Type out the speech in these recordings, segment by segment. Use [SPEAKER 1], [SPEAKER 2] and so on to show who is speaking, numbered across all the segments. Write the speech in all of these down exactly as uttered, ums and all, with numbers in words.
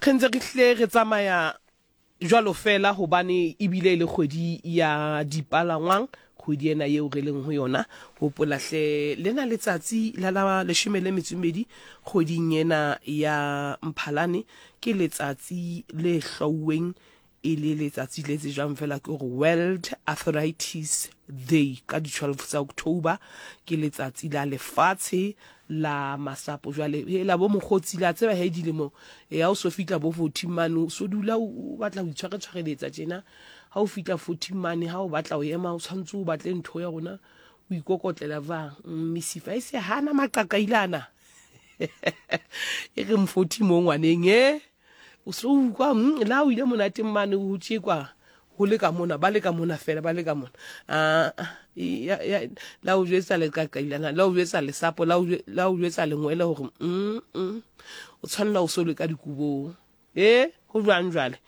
[SPEAKER 1] Re ntse re hlile re tsamaya jwalo fela hobane ebile e le kgwedi ya dipalangwang, kgwedi ena yeo re leng ho yona. Hopola hle lena letsatsi la la leshome le metso e mmedi kgweding ena ya Mphalane ke letsatsi le hlwauweng e le letsatsi le tsejwang fela ke hore World Arthritis Day ka di twelve tsa October, ke letsatsi la lefatshe la masapo. Jwale hela bo mokgotsi la tseba he dilemo e ha o so fihla bo forty mane o so dula o batla ho itshwaretshwareletsa tjena. Ha o fihla forty mane ha o batla ho ema o tshwantse o batle ntho ya rona o ikokotlela jwang, mesifa e se hana maqaqailana e re forty mo ngwaneng e o so utlwa la o ile monateng mane ho tjekwa ho le ka mona ba le ka mona fela ba le ka mona a la o jwetsa leqaqailana la o jwetsa lesapo la o jwetsa lengwele hore mm mm o tshwanela o so le ka dikobong e ho jwang. Jwale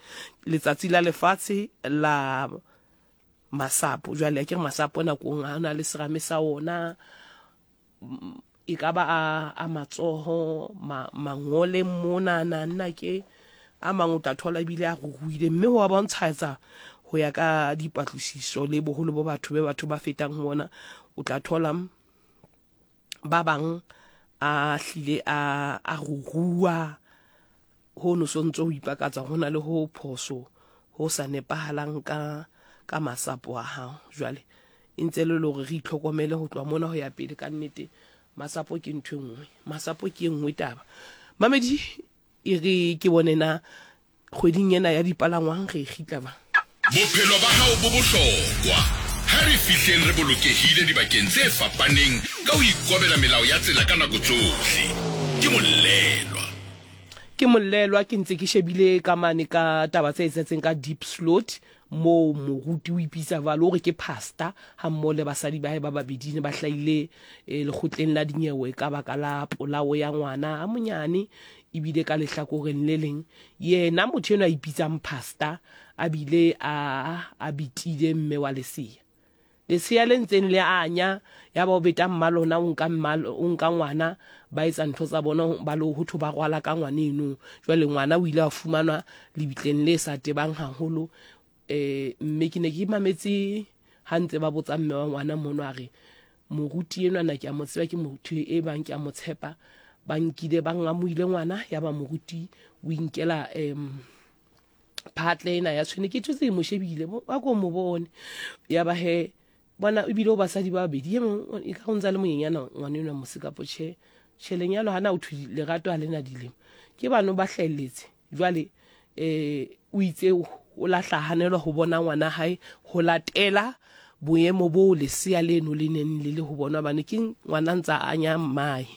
[SPEAKER 1] letsatsi la lefatshe la masapo, jwale ke re masapo nakong a na le serame sa ona, e ka ba a, a matsoho ma, mangole mona na nna ke a mang o tla thola ebile a ruruile, mme ho a bontsha ho ya ka dipatlisiso le boholo bo batho be batho ba fetang ho ona, o tla thola ba bang a hlile a a rurua ho no so ntso ho ipakatsa ho na le ho phoso ho sa nepahalang ka ka masapo a hao. Jwale e ntse le hore re itlhokomele ho tloha mona ho ya pele ka nnete. Masapo ke ntho e nngwe, masapo ke e nngwe taba. Mamedi e re ke bone na kgweding ena ya dipalangwang re e kgitla ba.
[SPEAKER 2] Bophelo ba hao bo bohlokwa. Ha re fihleng re bolokehile dibakeng tse fapaneng ka ho ikobela melao ya tsela ka nako tsohle. Ke Mollelwa.
[SPEAKER 1] Ke Mollelwa, ke ntse ke shebile ka mane ka taba tse etsahetseng ka Deep Slot moo moruti o ipitsa jwalo o re ke pastor ha mmoho le basadi ba hae ba babedi ne ba hlahile eh, lekgotleng la dinyewe ka baka la polao ya ngwana a monyane. Ebile ka lehlakoreng le leng yena motho enwa a ipitsang pastor a bile a a bitile mme wa lesea, lesea le ntseng le anya ya ba o beta mmalona o nka mmalo o nka ngwana ba etsa ntho tsa bona ba lo ho thwe ba rwala ka ngwana eno. Jwale ngwana o ile a fumanwa lebitleng le sa tebang haholo eh mme ke ne ke mametse ha ntse ba botsa mme wa ngwana mono a re moruti enwa na ke a mo tseba, ke motho e bang ke a mo tshepa, ba nkile ba ngamohile ngwana ya ba moruti o inkela em phatle ena ya tshwene ke thotse mo shebile ba ko mo bone ya ba he bona ebile o basadi ba babedi e mong e ka go ntsa le monyenyana ngwana enwa mosekapo tjhe tjhe lenyalo hana o thwe lerato ha lena dilemo ke bano ba hlahelletse. Jwale eh o itse o lahla hanelwa ho bona ngwana hae ho latela boemo bo lesea leno le neng le le ho bona bane ke ngwana ntsa anya mmae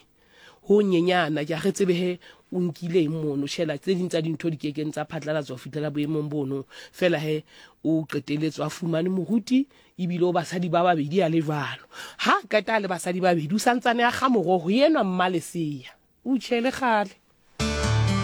[SPEAKER 1] ho nyenyana ke a re tsebe he o nkile eng mono tjhela tse ding tsa dintho di kekeng tsa phatlalatswa ho fihlela boemong bono fela he o qeteletswe a fumane moruti ebile o basadi ba babedi a le jwalo. Ha qeta le basadi ba babedi o santsane a kga moroho enwa mmalesea o tjhele kgale